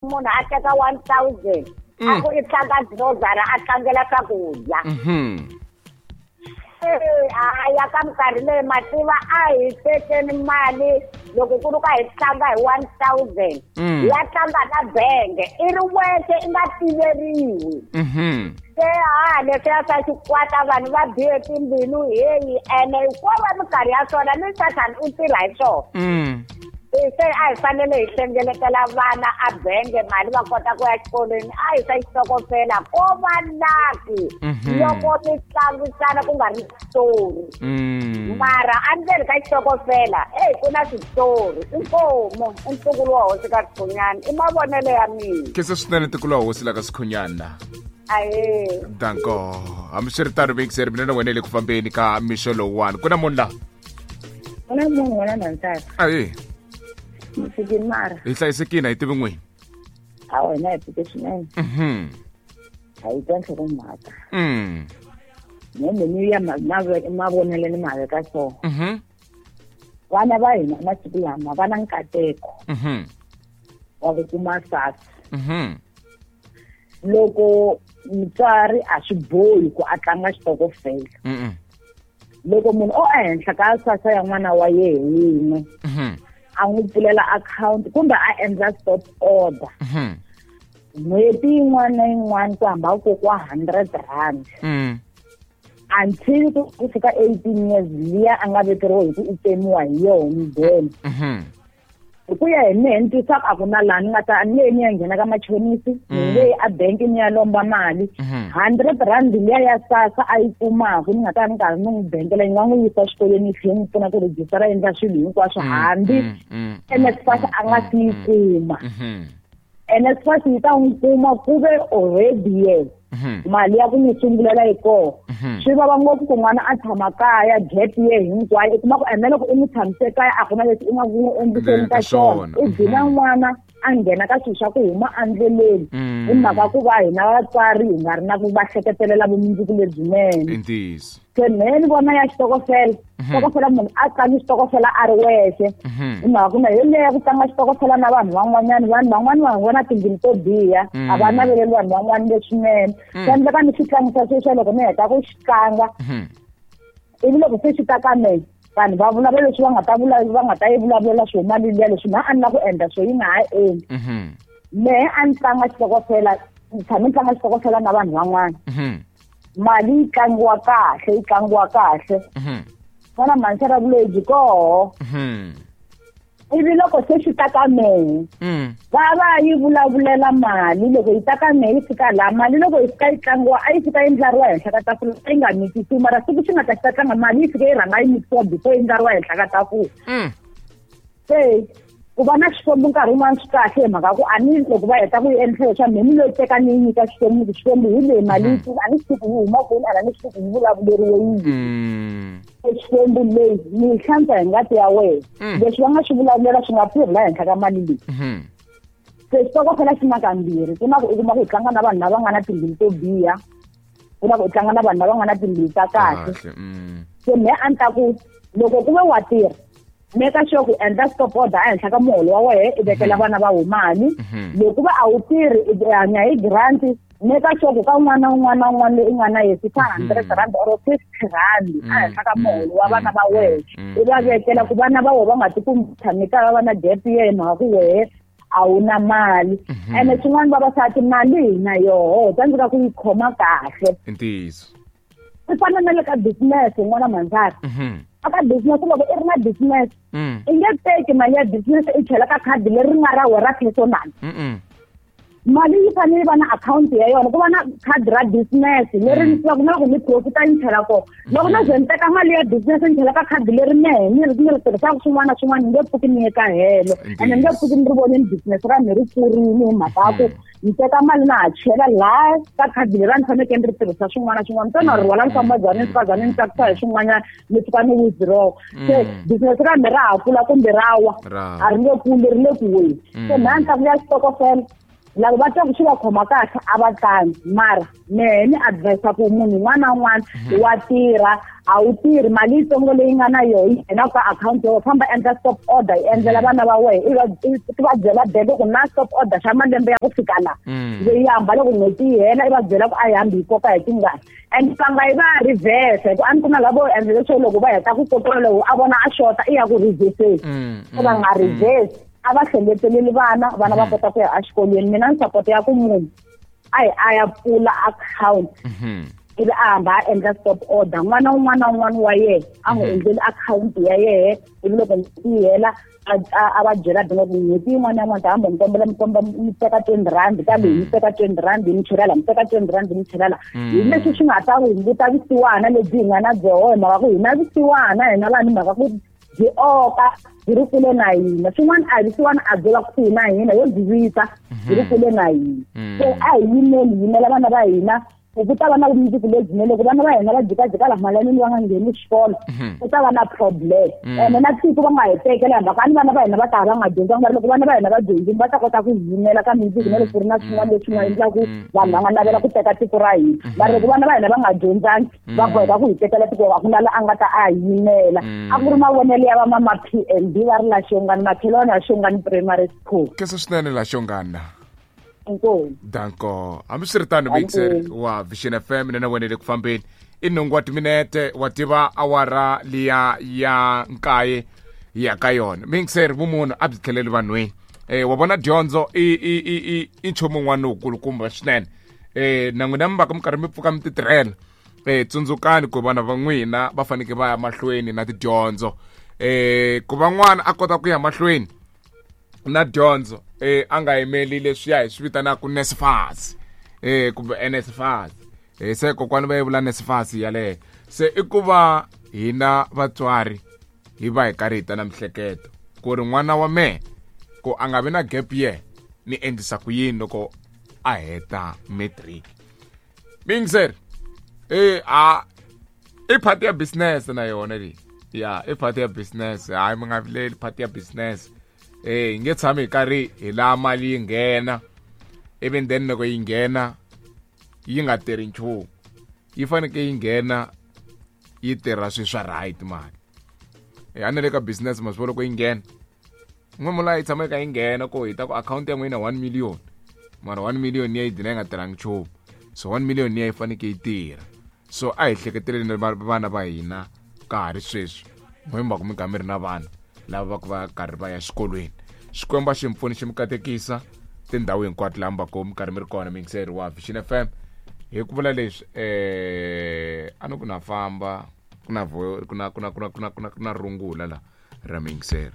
Munhu a teka 1000 a ku i tlanga grocery, a tlangela swakudya. A ya ka minkarhi leyi mativa a hi tekeni mali loko ku ri ka hi tlanga hi 1000, ya tlanga na benge i ri wexe, i nga tiveriwi. Se ha leswiya swa xikwata, vanhu va bihe timbilu heyi, ene ko va minkarhi ya swona ni Sathani u tirha hi swona. Se a hi fanele hi hlengeletela vana a benge mali va kota ku ya xikolweni. A hi swa xitokofela, ko va lucky loko mi tlangisana ku nga ri switori, mara endzeni ka xitokofela eyi ku na switori. Inkomu, i ntukulu wa hosi ka Sikhunyana, i mavonelo ya mina. Khensa swinene, ntukulu wa hosi la ka Sikhunyana. Ahee. Danko. Hambiswiritano, vekiseri mina na wena hi le ku fambeni ka mixo lowuwani. Ku na munhu laha? Ku na munhu wena nansati. Ahe. Mfikini mara? Hi hlayisekile, a hi tivi n'wini. A wena, hi pfuke swinene. A yi twa nhlokomhaka. Mhembe ni ya mavonelo ni ma veka so. Vana va hina masiku lama va na nkateko wa ku kuma SASSA. Loko mutswari a swi bohi ku a tlanga xitokofela. Loko munhu o ehenhla ka SASSA ya n'wana wa yehe wun'we, a n'wi pfulela akhawunti kumbe a endla stop order, n'hweti yin'wana na yin'wana ku hamba ku kokiwa R100 until ku fika 18 years liya a nga vekeriwa hi ku i tsemiwa hi yona mudende. Hi ku ya hi mehe, ni twisaka a ku na laha ni nga ta ni nge ni ya nghena ka machonisi, ni nge yi a bank ni ya lomba mali. R100 liya ya SASSA a yi kumaka, ni nga ta ni karhi ni n'wi bengela, yi nga n'wi yisa xikolweni, yi tlhela yi n'wi pfuna ku rejistara, endla swilo hinkwaswo, hambi NSFAS a nga si yi kuma. NSFAS yi ta n'wi kuma ku ve already ye mali ya ku n'wi sungulela yi kona. Swi vava ngopfu ku n'wana a tshama kaya gap ye hinkwayo, i kuma ku ene loko i n'wi tshamise kaya a ku na leswi i nga ku n'wi endliseni ka xona, i gcina n'wana a nghena ka swilo swa ku huma endleleni hi mhaka ku va hina vatswari hi nga ri na ku va hleketelela vumundzuku lebyinene. I ntiyiso. Se mehe ni vona ya xitokofela, xitokofela munhu a tlangi xitokofela a ri wexe, hi mhaka ku na hi leya ku tlanga xitokofela na vanhu van'wanyana, vanhu van'wani va vona timbilu to biha, a va naveleli vanhu van'wani leswinene. Swi endleka ni xi tlangisa sweswiya, loko ni heta ku xi tlanga, ivi loko se xi ta ka mehe, vanhu va vulavula leswi va nga ta vula, va nga ta yi vulavulela swo mali liya, leswi na a ni la ku endla swo yi nga ha endli. Mehe a ni tlanga xitokofela, ni tshame ni tlanga xitokofela na vanhu van'wana. Mali yi tlangiwa kahle, yi tlangiwa kahle. N'wana mhanisela vulebyi koho. Ivi loko se xi ta ka mehe, va va yi vulavulela mali. Loko yi ta ka mehe, yi fika laha, mali loko yi fika yi tlangiwa, a yi fika yi ndlariwa henhla ka tafula, yi nga mikisiwi. Mara siku xi nga ta xi ta tlanga, mali yi fika yi rhanga yi mikisiwa before yi ndlariwa henhla ka tafula. Se ku va na Xikwembu nkarhi wun'wani swi kahle, hi mhaka ku a ni loko va heta ku yi endla leswaku mehe ni loyi teka ni yi nyika Xikwembu, ku Xikwembu hi leyi mali yi a ni swi tivi yi huma kwini, a ni swi tivi yi vulavuleriwe yini. Xikwembu leyi ni yi hlantswa hi ngati ya wena, leswi va nga swi vulavulela swi nga tirhi la henhla ka mali leyi. Se xitokofela xi na kambirhi: ku na ku u kuma ku u tlanga na vanhu lava nga na timbilu to biha, ku na ku u tlanga na vanhu lava nga na timbilu ta kahle. Se mehe a ni ta ku loko ku ve wa tirha, meka sure ku endla stop order ehenhla ka muholo wa wehe, i vekela vana va mali. Loko va a wu tirhi, i hanya hi grant, meka sure ku ka un'wana na un'wana na un'wana loyi i nga na yesi fa R100 or R50 ehenhla ka muholo wa vana va wehe, i va vekela ku vana va wehe va nga tikumi tshame kaya va va na gap ye hi mhaka ku wehe a wu na mali. Ene swin'wana, vavasati, mali hi na yoho tsandzeka ku yi khoma kahle. I ntiyiso. Swi fana na le ka business, n'wana mandzara. Aka business, loko i ri na business, i nge teki mali ya business i chela ka khadi leri nga ra wena ra personal. Mali yi fanele yi va na akhawunti ya yona, ku va na khadi ra business leri ni tivaka na loko ni profita ni chela kona. Loko na ze ni teka mali ya business ni chela ka khadi leri mehe ni ri tirhisaka swin'wana na swin'wana, ni nge pfuki ni ye ka helo, ene ni nge pfuki ni ri voneni business ra mi ri kurini, hi mhaka ya ku ni teka mali na ha chela laha ka khadi leri a ni fanekele ni ri tirhisa swin'wana na swin'wana ntsena, ri rhwala ni famba byani, ni fika byani ni tsakisa hi swin'wanyana, ni fika ni withdraw. Se business ra mi ra ha kula kumbe ra wa? A ri nge kuli, ri le ku weni. Se mhani ta ku ya xitokofela. Lava va twaku swi va khoma kahle a va tlangi, mara mehe ni advise ku munhu un'wana na un'wana wa tirha, a wu tirhi mali yitsongo leyi nga na yoho yi nghena ka akhawunti ya wena, famba endla stop order yi endlela vana va wena, i va byela beke ku na stop order xa malembe ya ku fika laha, leyi hamba loko n'hweti yi hela, i va byela ku a yi hambi yi koka hi tingani, and va nga yi va ya reverse, hi ku a ni ku na lavo endla leswo loko va heta ku kokola, loko a vona a xota i ya ku reverseni, se va nga reverse, a va hlengeteleli vana, vana va kota ku ya exikolweni. Mina ni support ya ku munhu a hi a ya pfula akhawunti, ivi a hamba a endla stop order, n'wana un'wana na un'wana wa yena a n'wi endleli akhawunti ya yehe, ivi loko n'hweti yi hela a va byela binga ku n'hweti yin'wana na yin'wana ta hamba mi kombela mi komba mi teka R20 ka leyi, mi teka R20 mi chela la, mi teka R20 mi chela la, hi leswi swi nga ta hunguta vusiwana lebyi hi nga na byoho, hi mhaka ku hi na vusiwana hina vanhu, mhaka ku byi oka byi ri kule na hina. Swin'wana a hi vusiwana a byo va kusuhi na hina, yo byi vita byi ri kule na hina. So a hi yimeli, yimela vana va hina, ku ta va na vumundzuku lebyinene. Loko vana va hina va jikajika laha malanini va nga ngheni xikolo, ku ta va na problem, ene na tiko va nga hi tekela, hi mhaka ni vana va hina va ta va nga dyondzanga. Mara loko vana va hina va dyondzile, va ta kota ku yimela ka mindzuku, na loko ku ri na swin'wana leswi nga endlaku vanhu va nga navela ku teka tiko ra hina. Mara loko vana va hina va nga dyondzangi, va boheka ku hi tekela tiko, a ku na la a nga ta a hi yimela. A ku ri mavonelo ya vamama PNB va ri la Xongani, makhelwani ya Xongani Primary School. Khensa swinene la Xongana. Inkomu. Danko. Hambiswiritano, mixer wa Vision FM, mina na wena le ku fambeni, i nhungu wa timinete wa tiva awara liya ya nkaye ya ka yona. Mixer, vumunhu a byi tlheleli vanhwini. Wa vona, dyondzo i i i i i nchumu wun'wana lowukulukumba swinene. Na n'wina mi va ka mi karhi mi pfuka mi ti tirhela, tsundzukani ku vana va n'wina va fanekele va ya mahlweni na tidyondzo. Ku va n'wana a kota ku ya mahlweni na dyondzo, a nga yimeli leswiya hi swi vitanaka NSFAS, kumbe NSFAS, se kokwani va yi vula NSFAS yaleyo. Se i ku va hina vatswari hi va hi karhi hi ta na mihleketo ku ri n'wana wa mehe ku a nga vi na gap year, ni endlisa ku yini loko a heta matric. Mingser, a i part ya business na yona leyi, ya i part ya business. Hayi, mi nga vileli, part ya business. Hi nge tshami hi karhi hi laha mali yi nghena, even then loko yi nghena yi nga tirhi nchumu, yi fanekele yi nghena yi tirha swilo swa right mali. A ni le ka business, ma swi vona, loko yi nghena n'we yi tshama yi kha yi nghena ku hi ta ku akhawunti ya n'wina 1 million, mara 1 million ya yi dina yi nga tirhangi nchumu. So 1 million ya yi fanekele yi tirha. So a hi hleketeleni vana va hina ka ha ri sweswi, n'we mi va ku mi kha mi ri na vana lava va ku va karhi va ya xikolweni. Xikwembu a xi mi pfuni, xi mi katekisa tindhawu hinkwato laha mi va ku mi karhi mi ri kona. Miyingiseri wa Vision FM, hi ku vula leswi, a ni ku na famba ku na ku na ku na ku na ku na ku na ku na rungula la ra miyingiseri.